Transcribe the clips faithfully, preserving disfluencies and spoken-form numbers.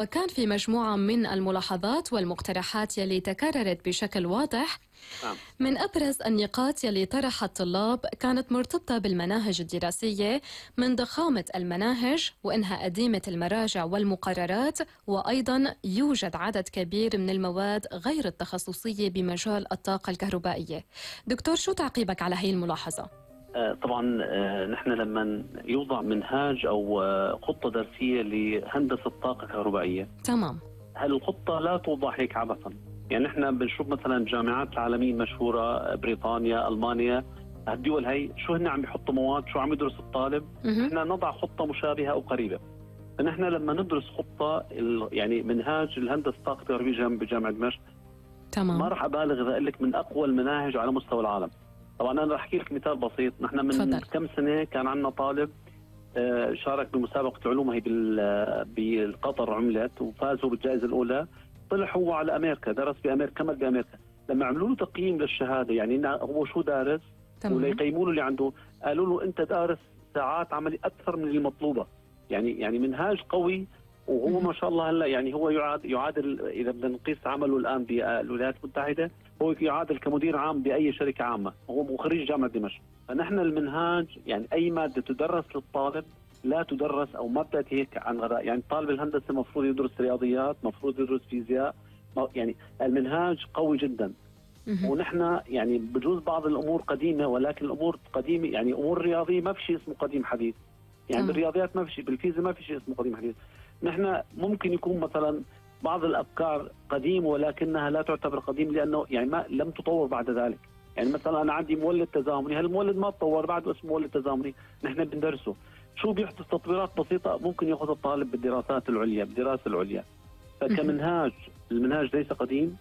وكان في مجموعة من الملاحظات والمقترحات يلي تكررت بشكل واضح. نعم. من أبرز النقاط يلي طرحها الطلاب كانت مرتبطة بالمناهج الدراسية، من ضخامة المناهج وإنها قديمة المراجع والمقررات، وأيضا يوجد عدد كبير من المواد غير التخصصية بمجال الطاقة الكهربائية. دكتور، شو تعقيبك على هي الملاحظة؟ آه طبعا آه نحن لما يوضع منهاج أو آه خطة درسية لهندسة طاقة كهربائية، تمام، هالخطة لا توضع هيك عبثا. يعني نحن بنشوف مثلا الجامعات العالمية المشهورة، بريطانيا، ألمانيا، هالدول هي شو هن عم يحطوا مواد، شو عم يدرس الطالب. نحن نضع خطة مشابهة أو قريبة. فنحن لما ندرس خطة يعني منهاج الهندسة الطاقة الكهربائية بجامعة دمشق، تمام، ما راح أبالغ إذا أقول لك من أقوى المناهج على مستوى العالم. طبعا أنا راح أحكي لك مثال بسيط. نحن من فضل. كم سنة كان عندنا طالب شارك بمسابقة علوم هي بالقطر، عملت وفازوا بالجائزة الأولى. طلع هو على أمريكا، درس بأمريكا، كمل بأمريكا. لما عملوا له تقييم للشهادة، يعني هو شو دارس، وليقيموا له اللي عنده، قالوا له أنت دارس ساعات عملي أكثر من المطلوبة. يعني يعني منهاج قوي. وهو ما شاء الله هلا يعني هو يعاد يعادل، اذا بدنا نقيس عمله الان بالولايات المتحده، هو يعادل كمدير عام باي شركه عامه، هو خريج جامعه دمشق. فنحن المنهاج يعني اي ماده تدرس للطالب لا تدرس او ما بتاتي هيك عن غراء. يعني طالب الهندسه المفروض يدرس رياضيات، المفروض يدرس فيزياء. يعني المنهاج قوي جدا. ونحن يعني بجوز بعض الامور قديمه، ولكن الامور قديمه يعني امور رياضيه ما في شيء اسمه قديم حديث. يعني بالرياضيات ما في شيء، بالفيزياء ما في شيء اسمه قديم حديث. نحن ممكن يكون مثلا بعض الافكار قديم ولكنها لا تعتبر قديم لانه يعني ما لم تطور بعد ذلك. يعني مثلا انا عندي مولد تزامني، هالمولد ما تطور بعد اسمه مولد تزامني، نحن بندرسه. شو بيحدث تطويرات بسيطه ممكن ياخذ الطالب بالدراسات العليا، بالدراسه العليا. فكمنهاج المنهاج ليس قديم،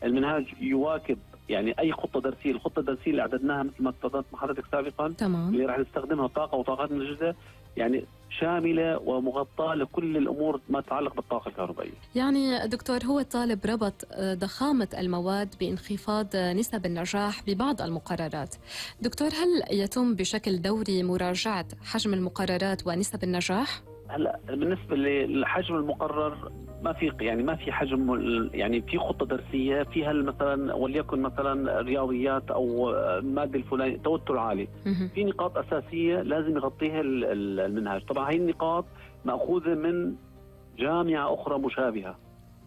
المنهاج يواكب يعني اي خطه درسيه. الخطه الدرسيه اللي اعددناها مثل ما تفضلت مع حضرتك سابقا، تمام، اللي راح نستخدمها طاقه وطاقات متجدده، يعني شامله ومغطاه لكل الامور ما تتعلق بالطاقه الكهربائيه. يعني دكتور، هو الطالب ربط ضخامه المواد بانخفاض نسب النجاح ببعض المقررات. دكتور، هل يتم بشكل دوري مراجعه حجم المقررات ونسب النجاح؟ هلا بالنسبه لحجم المقرر ما في يعني ما في حجم، يعني في خطه درسيه فيها مثلا وليكن مثلا رياضيات او ماده الفلانيه توتر عالي، في نقاط اساسيه لازم يغطيها المنهاج. طبعا هي النقاط ماخوذه من جامعه اخرى مشابهه،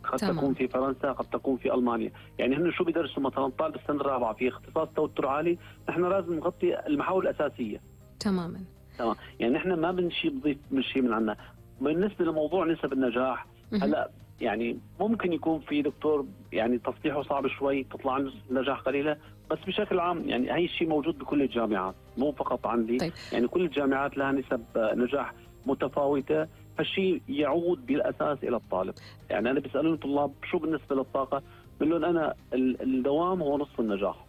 قد تمام. تكون في فرنسا، قد تكون في المانيا. يعني هن شو بيدرسوا مثلا طالب السنه الرابعه في اختصاص توتر عالي، نحن لازم نغطي المحاور الاساسيه تماما. تمام. يعني نحن ما بنشي بضيف من شيء من عنا. بالنسبه لموضوع نسب النجاح، هلا يعني ممكن يكون في دكتور يعني تصحيحه صعب شوي، تطلع نسبه النجاح قليله، بس بشكل عام يعني هي الشيء موجود بكل الجامعات، مو فقط عندي. طيب. يعني كل الجامعات لها نسب نجاح متفاوته، فالشيء يعود بالاساس الى الطالب. يعني انا بيسالوني الطلاب شو بالنسبه للطاقه، بقول لهم انا الدوام هو نصف النجاح.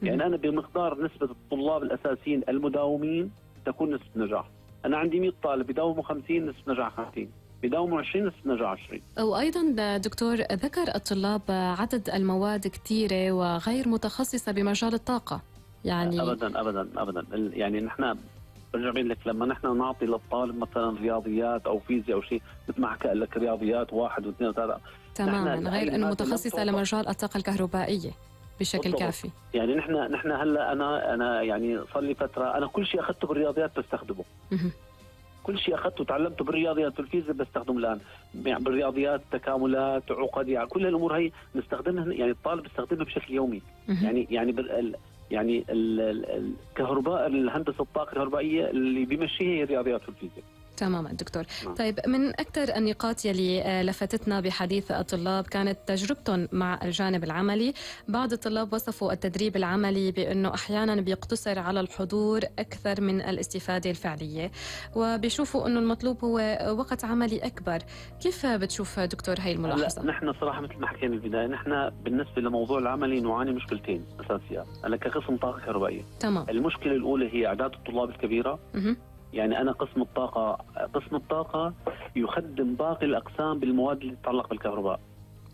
يعني انا بمقدار نسبه الطلاب الاساسيين المداومين تكون نسبة نجاح. أنا عندي مئة طالب بداوموا خمسين، نسبة نجاح خمسين، بداوموا عشرين، نسبة نجاح عشرين. وأيضا دكتور، ذكر الطلاب عدد المواد كثيرة وغير متخصصة بمجال الطاقة. يعني أبدا أبدا أبدا يعني نحن برجع بقول لك لما نحن نعطي للطالب مثلا رياضيات أو فيزياء أو شيء، مثل ما حكى لك رياضيات واحد واثنين وثلاثة تماما، غير أنه متخصصة لمجال الطاقة الكهربائية بشكل بالضبط. كافي. يعني نحن نحن هلا انا انا يعني صار لي فتره انا كل شيء اخذته بالرياضيات بستخدمه. كل شيء اخذته وتعلمته بالرياضيات والفيزياء بستخدمه الان. يعني بالرياضيات تكاملات، عقد، يعني كل الامور هي نستخدمها، يعني الطالب بيستخدمها بشكل يومي. يعني يعني بال يعني الكهرباء، الهندسه الطاقه الكهربائيه اللي بيمشيها هي الرياضيات والفيزياء. تماما دكتور. نعم. طيب، من أكثر النقاط يلي لفتتنا بحديث الطلاب كانت تجربتهم مع الجانب العملي. بعض الطلاب وصفوا التدريب العملي بأنه أحيانا بيقتصر على الحضور أكثر من الاستفادة الفعلية، وبيشوفوا أنه المطلوب هو وقت عملي أكبر. كيف بتشوف دكتور هاي الملاحظة؟ نحن صراحة مثل ما حكينا بالبداية، نحن بالنسبة لموضوع العملي نعاني مشكلتين أساسيات. أنا كقسم طاقة كهربائية، تمام. المشكلة الأولى هي أعداد الطلاب الكبيرة. م- يعني أنا قسم الطاقة قسم الطاقة يخدم باقي الأقسام بالمواد اللي تتعلق بالكهرباء.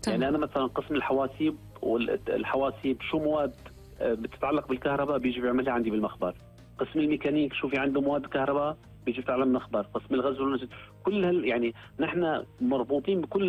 طبعا. يعني أنا مثلا قسم الحواسيب، والحواسيب شو مواد بتتعلق بالكهرباء بيجي بيعملها عندي بالمخبر. قسم الميكانيك شو في عنده مواد كهرباء بيجي بتعلم مخبر. قسم الغزل والنسيج، كل هال يعني نحن مربوطين بكل